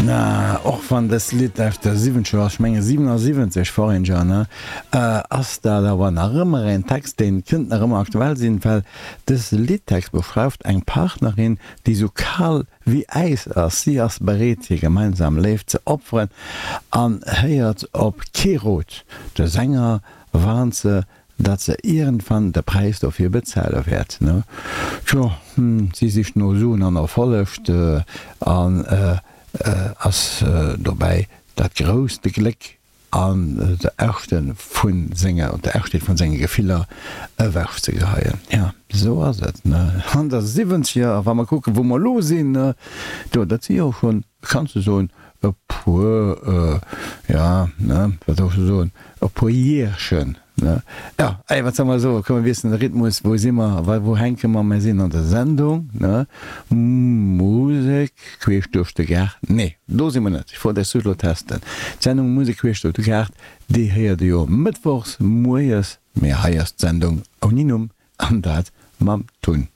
Na, och wann dëst Lidd aus de Siwwenzeger ass, ech menge 77, Foreigner, ne, ass dat awer nach ëmmer en Text, deen kënnt nach ëmmer aktuell sinn, well dëse Liddtext beschreift eng Partnerin, déi sou kal wéi Äis ass. Si ass bereet, hir gemeinsam Léift ze opferen an héiert op kee Rot. De Sänger warnt se, datt se iergendwann de Präis dofir bezuele wäert. Tjo, si sicht no Suen an Erfolleg an ass dobäi dat grousst Gléck an der Echte vun senger, der Echtheet vun senge Gefiller ewech ze geheien. Jo, esou ass et. An der Siwwenzeger, a wa mer kucken, wou mer elo sinn, do, dat si jo schonn, kanns de soen, e puer, jo, ne, wat soll ech elo soen, e puer Jährchen, ne. Jo, ey, wat soll mer soen, komm, mir wiesselen de Rhythmus, wou si mer, wa, wou hänke mer, mir sinn an der Sendung, ne, Musek queesch duerch de Gaart, nee, do si mer net, ech wollt iech just elo testen, d'Sendung Musek queesch duerch de Gaart, déi héiert dir jo mëttwochs moies, mee hei ass d'Sendung ouni Numm, an dat mam Tun.